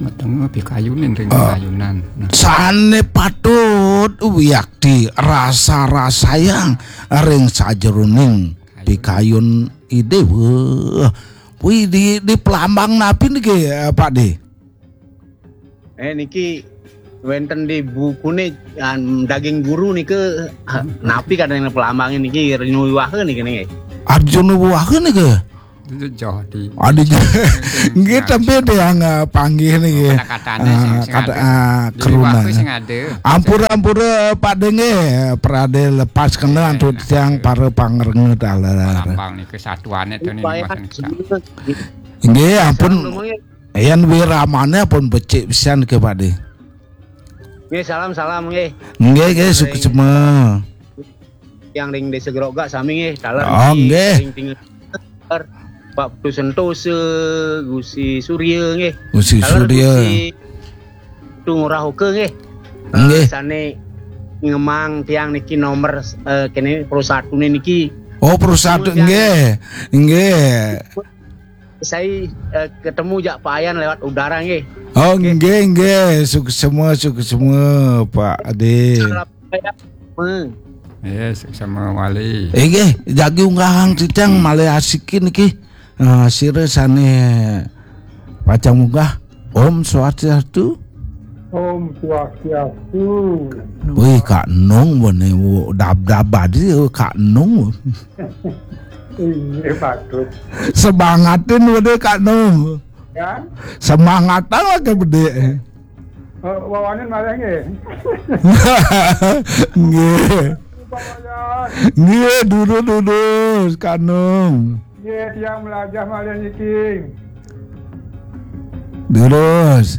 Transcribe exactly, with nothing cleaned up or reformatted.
Mateng pikayunin ring ayunan. Nah. Sane patut wiakti rasa-rasayang ring sajeroning pikayun Ide. Wah. Wih, di, di pelambang napi niki, eh, Pak De? Eh, niki wenten di bukune, an, daging guru nika, ha, napi kadang pelambangin niki, Arjuna Wiwaha niki, niki. Arjuna Wiwaha niki? Itu jauh di Adi. Nggih, tapi ada yang, eh, panggih niki. Kata-katanya sing, sing kata, ada. Ah, di keruna. Wiwaha sing ada. Ampura-ampura Pak De nggih, prade lepas kena antuk tiang para pangrengga taler. Lambang niki satuane to niki. Nggih, ampun. Yan wiramane pun becik pisan ke Pak De. Nggih, salam, salam, nggih. Nggih, nggih, suksma. Yang ring Desa Grogak sami nggih, taler. Oh, nggih. Ring tinggal Pak Putu Sentosa, Gusi Surya nggih. Gusi Surya. Gusi Tu Ngurah Oka nggih. Nggih. Eh, sane ngemang tiang niki nomor, eh, kene pro satu niki. Oh, pro satu nggih. Nggih. Saya, eh, ketemu jak Pak Ayan lewat udara nggih. Oh, nggih, nggih. Suksma, suksma, Pak Ade. Salam saya. Hmm. Ya, suksma wali. Eh, nggih, jagi unggahang titiang malih asikin niki. Eh, sira sane pacang munggah. Om Swastiastu. Om Swastiastu. Wih, Kak Nung, bone, dab-dab adi, Kak Nung. Iya, patut. Semangatin bone, Kak Nung. Ya? Semangatan lah ke bede. Eh, wawanin malah nggih. Nggih. Pak Wayan. Nggih, durus-durus, Kak Nung. Nggih, tiang melajah malih niki. Durus.